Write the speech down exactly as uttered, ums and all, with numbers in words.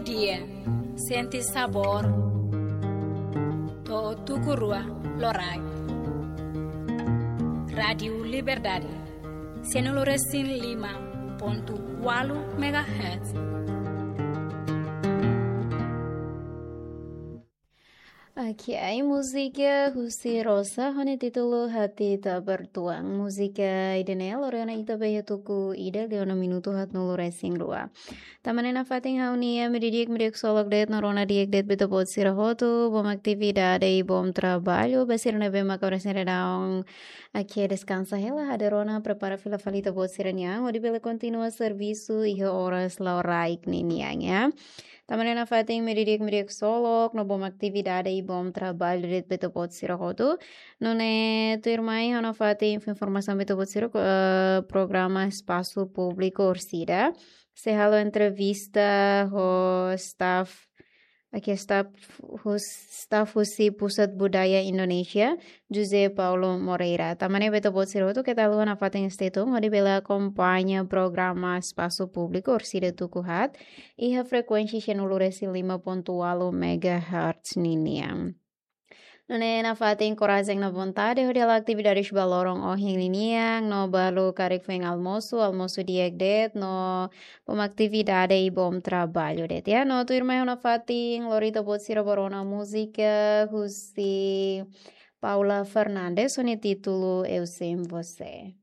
Dia, sente sabór to'o tuku rua loraik. Rádiu Liberdade, sianulu resin lima pontu ualu megahertz. Oke, ai múzika husi Rosa, ho nia títulu Hati Tak Bertuan. Múzika ida-ne'e lori ona ita ba iha tuku ida liu ona minutu haatnulu resin rua. Tan ne'e nafatin ha'u-nia media di'ak, media ksolok de'it no rona di'ak de'it ba ita-boot sira hotu, bom atividade i bom traballu, ba sira ne'ebé maka oras ne'e daudaun atu deskansa hela, hadeer ona prepara fila fali ita-boot sira-nia an, hodi bele kontinua servisu iha oras loraik ninian, ya. Tan ne'e nafatin media di'ak, media ksolok, no bom atividade i bom traballu de'it ba ita-boot sira hotu. Nune'e tuirmai ha'u nafatin informasaun ba ita-boot sira, eh, programa Espasu Públiku Orsida sei halo entrevista ho staff, oke, staff hus-, staff husi Pusat Budaya Indonesia, José Paulo Moreira. Tan ne'e ba ita-boot sira hotu keta haluha nafatin stay tune, hodi bele akompaña programa Espasu Públiku Orsida tuku haat iha frekuénsia sianulu resin lima pontu ualu megahertz ninian. Nune'e nafatin korajen no vontade hodi halo atividades ba loron ohin ninian, no balu karik foin almosu, almosu di'ak de'it, no bom atividade i bom traballu de'it, ya. No tuirmai ha'u nafatin lori ita-boot sira ba rona múzika husi Paula Fernandes, ho nia títulu Eu Sem Você.